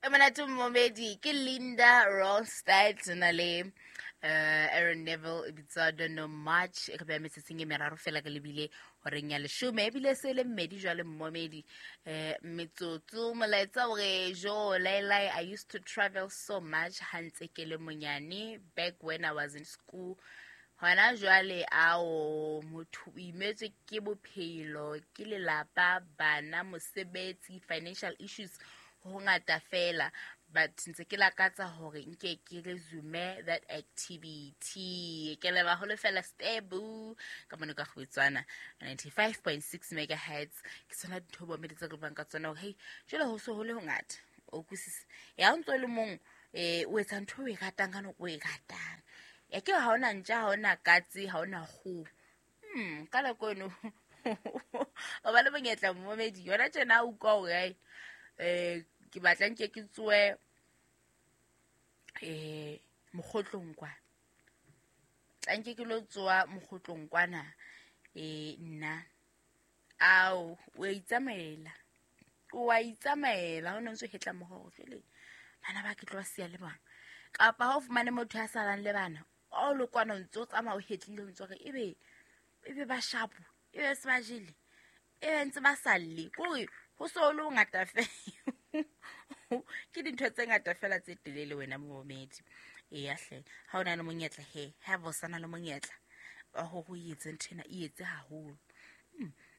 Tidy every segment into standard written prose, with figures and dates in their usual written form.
E monate momedi ke Linda Ronstadt na le Aaron Neville e bitswa Don't Know Much. E re beha metsotsong e meraro fela re lebile horeng ya leshome, ebile se le mmedi jwale mmomedi. Metsotso molaetsa o re jo lailai, I used to travel so much ha ntse ke le monyane back when I was in school. Hona jwale ao motho o imetswe ke bophelo, ke lelapa, bana, mosebetsi, financial issues, ho ngata fela, but ntse ke lakatsa hore nke ke resume that activity. Ke leba ho lefela stebu ka mone ka kgwetswana 95.6 megahertz. Ke tsona dintho bo meditse re buang ka tsona hore hey, jwale ho so ho le hongata, o utlwisisa ya o ntso le mong, o etsa ntho o e ratang ka nako o e ratang. Ya ke ha ona ntja, ha ona katse, ha ona kgoho. Ka nako eno o ba le monyetla momedi yona tjena o utlwa hore ai, ke batla nke ke tsoe mokgotlong kwa, tla nke ke lo tsoa mokgotlong kwana, nna ao o a itsamaela, o a itsamaela, ha o ne ntse o hetla moho jwale bana ba ke tlo ba siya le bana, kapa ha o fumane motho ya salang le bana, o le kwana o ntse o tsamaya o hetlile, o ntse o re ebe ba shapo, ebe se ba jele, ebe ntse ba sa lle, kore ho so le ho ngata fela. Ke dintho tse ngata fela tse telele wena momedi. Eya hle, ha o na le monyetla he, ha bo sana le monyetla wa hore o etse ntho ena, e etse haholo.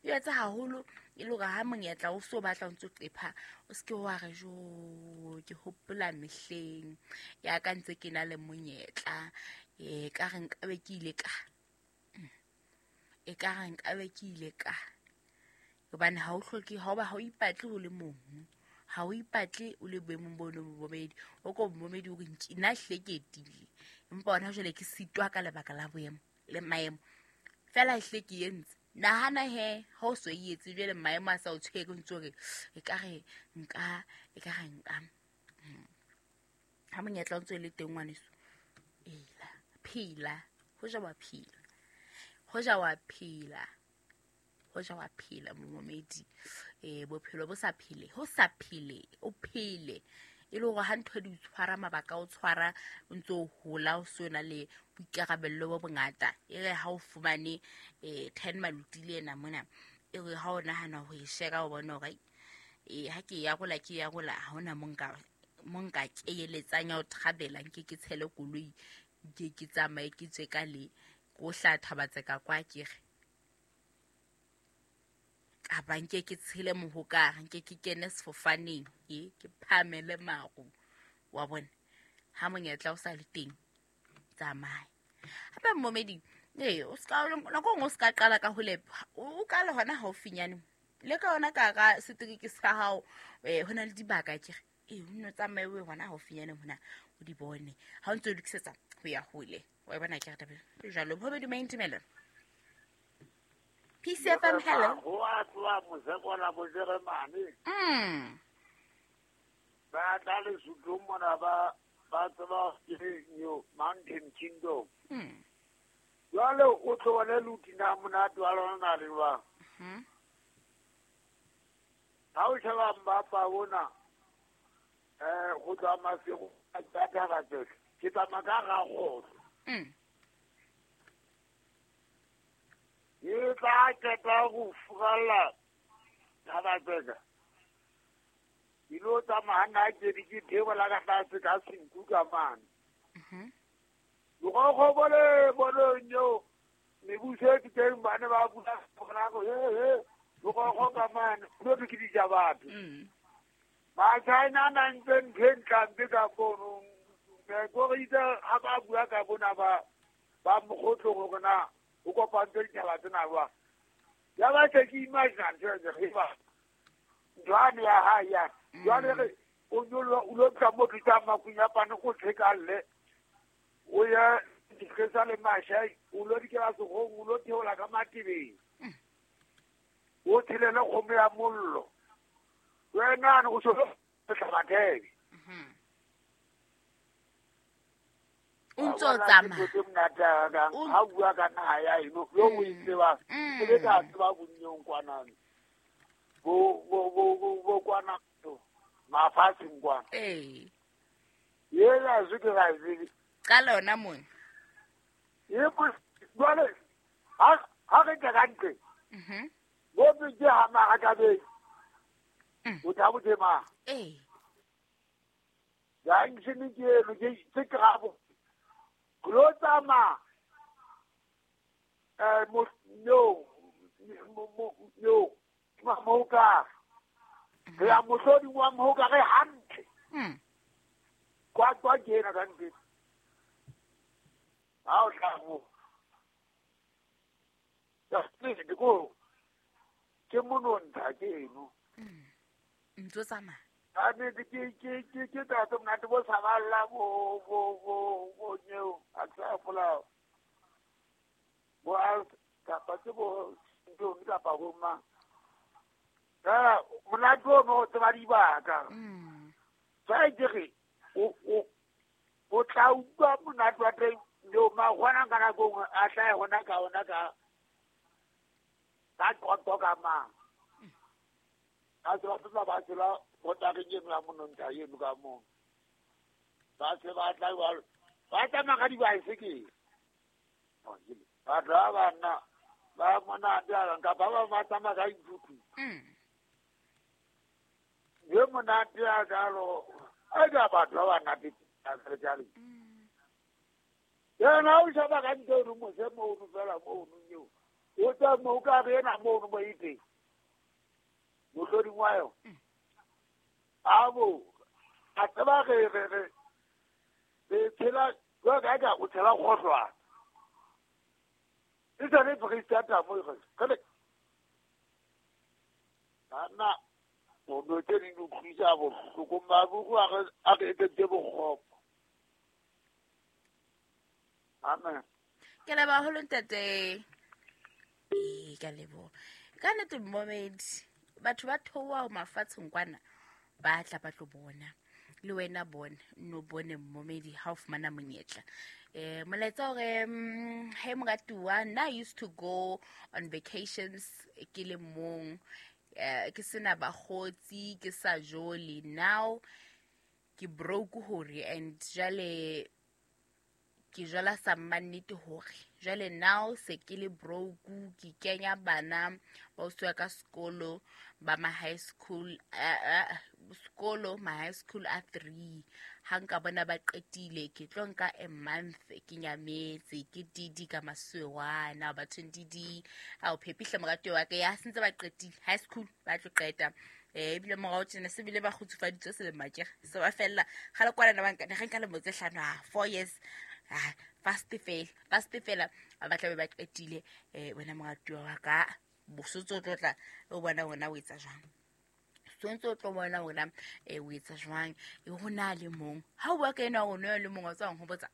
E etse haholo e le hore ha monyetla o so batla o ntso qepha, o se ke wa re jo ke hopola mehleng ya ka ntse ke na le monyetla, ka re nkabe ke ile ka, e ka re nkabe ke ile ka. Hobane ha o hloke, ha o ba, ha o ipatle o le mong, ha o ipatle o le boemong bo le bobedi, o ko momedi o re nna hle ke etile, empa hona jwale ke sitwa ka lebaka la boemo le maemo fela hle ke entse. Nahana he ha o so e etse jwale maemo a sa o tshwere, o ntse o re e ka re nka, e ka re nka. Ha monyetla o ntse o le teng ngwaneso, ela phela, hoja wa phela, hoja wa phela, hoja wa phela momedi. Bophelo bo sa phele, ho sa phele, o phele e le hore ha ntho di o tshwara, mabaka o tshwara, o ntse o hola, o so na le boikarabello bo bongata. E re ha o fumane 10 maluti le ena mona, e re ha o nahana ho e shera, o bona hore ha ke ya rola, ke ya rola, ha hona mo nka, mo nka keeletsang ya ho thabela, nke ke tshele koloi, nke ke tsamaye ke tswe ka le, ko hla thabatseka kwa ke re. Kapa nke ke tshele mohokare, nke ke kene sefofaneng, ke phamele maru. Wa bona, ha monyetla o sa le teng, tsamaya. Hape momedi, o ska, nako nngwe o ska qala ka hole, o qale hona haufinyane. Le ka hona ka hara setereke sa hao, ho na le dibaka ke re, o nno tsamaye o ye hona haufinyane mona, o di bone. Ha o ntse o lokisetsa ho ya hole. Wa e bona ke re taba e jwalo. Momedi, maintimelo. PCFM, hello. Ho a tloha Mosekola bo Jeremane. Ba tla Lesotho mona ba tseba ke New Mountain Kingdom. Jwale o tlohele Lutina monate wa lona na le jwang? Ha o sheba Mbapa bona, ho tloha Maseru a tla Thabatseka. Ke tsamaya ka Rakgotlo. E tla qeta ho furalla Thabatseka. Ke lo tsamaya nna ke di ke theola ka tlase ka senku ka mane. Lekgokgo bo le boneng eo, mebuso e teng ba ne ba bua bona go, he, he, lekgokgo ka mane, ho thwe ke dija batho. Ba-China na ntse ntho e ntlampe ka founung. Ko re itse ha ba bua ka bona ba mokgotlong hore na ho kopantswe ditjhaba tsena jwang. Ya ba se ke imagine ntho e re ba ntho ane ya hae ya. Jwale re o nyoloha, o lo tla mo tlisa makunyapane o tshekalle. O ye dikgesa le mashai, o lo dikela sekgong, o lo theola ka matebeng. O tshelele kgomo ya mollo. Wena o so hlabathebe. O ntso o tsamaya. Ke monate ha O ha bua ka naha ya eno, yo o e tsebang. Ke be ka tseba bonnyong kwana. Bo, bo, bo, bo, bo kwana. Ma mafatsheng kwana. Ee. Yena se ke ga tsebe. Qala hona mona. Jwale ha re tla ka ntle. Mhm. Bo ke ha marakabeng. O tla botema. Ee. Junction ke eno ke tse krabo. Lo tsamaya mo no no mo ka. Re a mohlodi wa mo ka re hantle. Kwa kwa ke ena ka ntle. Ha o tla mo. Ya ke go. Ke monontsha ke eno. Ntso tsamaya. A ne ke ke tla tlo monate bo saballa bo bo bo bo nyeo a tla fola. Bo a kapa ke bo ntlo kapa bo ma. Ka monate o no tseba dibaka. Sa ke re o tla utlwa monate wa teng yo ma gona ka nako a tla gona ka ona ka ka qoqo ka ma. A se ba ba tsela bota ke eno ya monontsha eno ka mo. Ba se ba tla ba tsamaya ka dibaesekele. Batho ba banna ba monate a nka ba ba tsamaya ka dithuthu. Ye monate a jalo a ka batho ba banna ke jalo. Yena o shaba ka ntho eno mose mono fela mono eo. O tla mo ka re ena mono mo ite. Mohloding wa yona. Abo a tseba re re re tshela jwa ka ka o tshela kgohlwana. E tsane Freistata mo e re. Ana o no tse di utlwisa bohloko mabugu a re etetse bokgopo. Amen. Ke leboha haholo ntate. Ee, ka leboha. Ka nnete momedi batho ba theoha mafatsheng kwana ba tla ba tlo bona. Le wena bona no bone momedi ha o fumana monyetla. Molaetsa hore hey moratuwa, nna I used to go on vacations ke le mong, ke sena bakgotsi, ke sa jole. Now ke broke hore and jwale ke jala sa mannete hore jwale now se ke le broke, ke kenya bana ba usuwa ka sekolo ba ma high school sekolo ma high school a 3. Ha nka bona ba qetile ke tlo nka a month ke nyametse ke didi ka masuwana bathong didi a o phepihle moratuwa wa ka ya sentse ba qetile high school ba tlo qeta. Ebile morao tjena se bile ba kgutsufaditswe selemo akere se ba fella kgale kwana na banka re nka lemo tse hlano 4 years. Fast fela ba tla be ba qetile. Wena moratuwa wa ka bosotso o tlo tla o bona wena o etsa jwang, sontso o tlo bona wena o etsa jwang. Ho na le mong ha o bua ka ena o no le mong o tswang ho botsa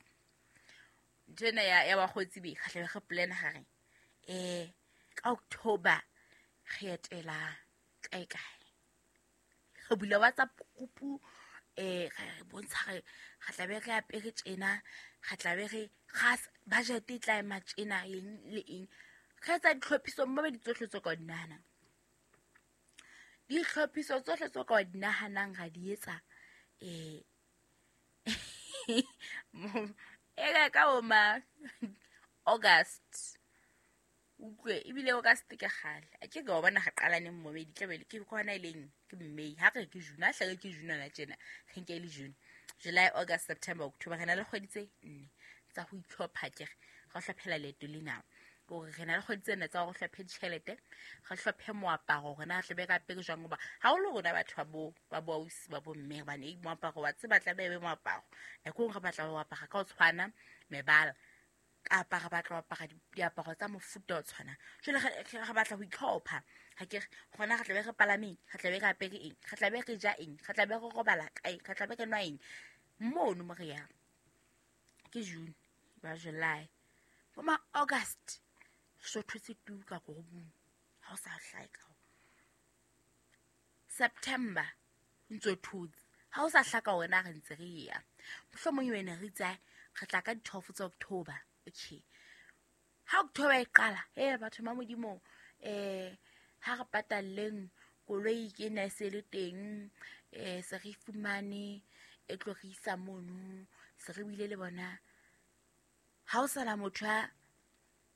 ntho ena ya bakgotsi be kgahle re plan hare ka October re etela kae kae, re bula WhatsApp group re bontsha re tla be re apere tjena, re tla be re gas budget e tla ema tjena eng le eng. Re etsa ditlhophiso mme di tsohle tse ka di nahanang, ditlhophiso tsohle tse ka di nahanang ra di etsa. E ka o ma August utlwe ebile August ke kgale a ke ka o bona ga qalaneng momedi tla be ke gona e leng ke May ha re ke June a hlake ke June la tjena re nke le June, July, August, September, October re na le kgwedi tse nne tsa ho itlhopha ke re hlophela leeto lena. Hore re na le kgwedi tse nne tsa hore hlophe ditjhelete, re hlophe moaparo hore na re tle be ka apere jwang hoba haholo rona batho ba bo ausi ba bo mme hobane moaparo wa tseba tla be moaparo nako re batla ho apara ka ho tshwana mebala kapa re batla ho apara diaparo tsa mofuta o tshwanang. Jwale re batla ho itlhopha ha ke re gona re tla be re palameng, re tla be re apere eng, re tla be re ja eng, re tla be re robala kae, re tla be re nwa eng mono mo re yang. Ke June ba July bo ma August so thotse tu ka gorobong ha o sa hlae ka September ntso thotse ha o sa hlaka wena re ntse re ya mohlomong wena re itse re tla ka di-12 tsa October. Okay, ha October e qala batho ba Modimo ha re patalleng koloi ke ena e se le teng Se re fumane e tlo re isa mono, se re buile le bona. Ha o sana motho a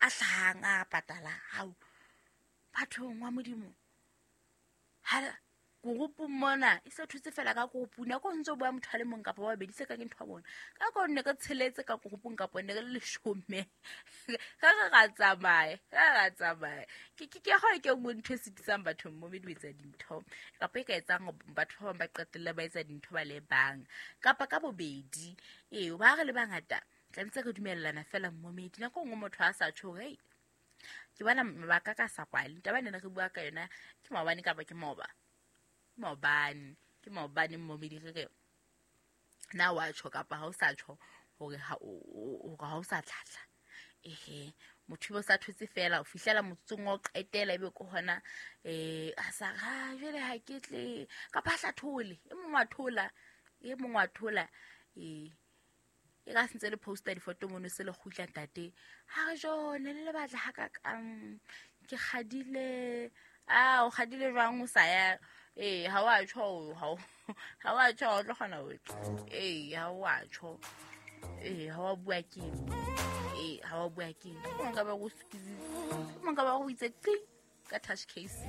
hlahang a patala, hao bathong wa Modimo. Ha group mona e se thutse fela ka group, nako ntse o bua motho a le mong kapa ba babedi, se ka ke ntho ya bona. Ka ko nne ka tsheletse ka groupung kapa ne re le leshome. Ka re ra tsamaya, ka re ra tsamaya. Ke kgona ke nngwe ntho e sitisang batho mo di etsa dintho, kapa e ka etsang batho ba bang ba qetelle ba etsa dintho ba le bang kapa ka bobedi. Ee, ba re le bangata tlametse re dumellana fela mmomedi. Nako nngwe motho a sa tjho hore ke bona mabaka ka sa kwale. Taba ena re bua ka yona ke maobane kapa ke maoba. Maobane, ke maobane mmomedi re re na wa tjho kapa ha o sa tjho hore ha o sa tlhatla. Ehe, motho o sa thotse fela o fihlela motsotsong wa o qetela ebe ke hona a sa ra jwale ha ke tle kapa hla thole e mong wa thola, e mong wa thola. E ka sentse le poster difoto mono se le kgutla ntate. Ha re jone le batla ha ka kang ke kgadile. A o kgadile jwang o sa ya? Ha wa tjho, ha wa tjho o tlo kgona ho tla. Ha wa tjho. Ha wa bua ke. Ha wa bua ke. Mo nka ba go squeeze. Mo nka ba go itse qi ka touch case.